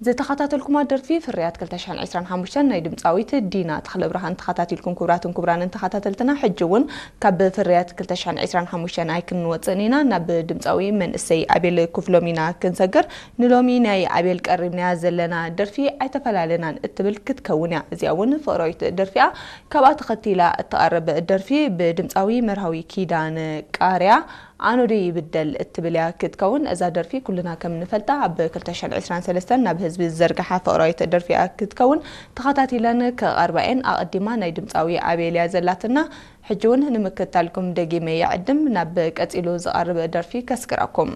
ዝተኸታተልኩማ ደርፊ ፍርያት ክልተ ሽሕን ዕስራን ሓሙሽተን ናይ ድምፃዊት ዲና ተኽለብርሃን ተኸታቲልኩም። ክቡራትን ክቡራንን ተኸታተልትና፣ ሕጂ እውን ካብ ፍርያት ክልተ ሽሕን ዕስራን ሓሙሽተን ኣይክንወፅእን ኢና። ናብ ድምፃዊ መንእሰይ ኣቤል ክፍሎም ኢና ክንሰግር። ንሎሚ ናይ ኣቤል ቀሪብናያ ዘለና ደርፊ ኣይተፈላለናን እትብል ክትከውን እያ። እዚኣ እውን ፍቕራዊት ደርፊ እያ። ካብኣ ተኸቲላ እትቐርብ ደርፊ ብድምፃዊ መርሃዊ ኪዳነ ቃርያ ኣኖ ዶ ይብደል እትብል እያ ክትከውን። እዛ ደርፊ ኩልና ከም ንፈልጣ ኣብ ክልተ ሽሕን ዕስራን ሰለስተን ናብ ህዝቢ ዝዘርግሓ ፍቕራዊት ደርፊ እያ ክትከውን። ተኸታቲለን ክቐርባ እየን። ኣቐዲማ ናይ ድምፃዊ ኣቤል እያ ዘላትና። ሕጂ እውን ንምክትታልኩም ደጊመ ይዕድም። ናብ ቀፂሉ ዝቐርብ ደርፊ ከስግረኩም።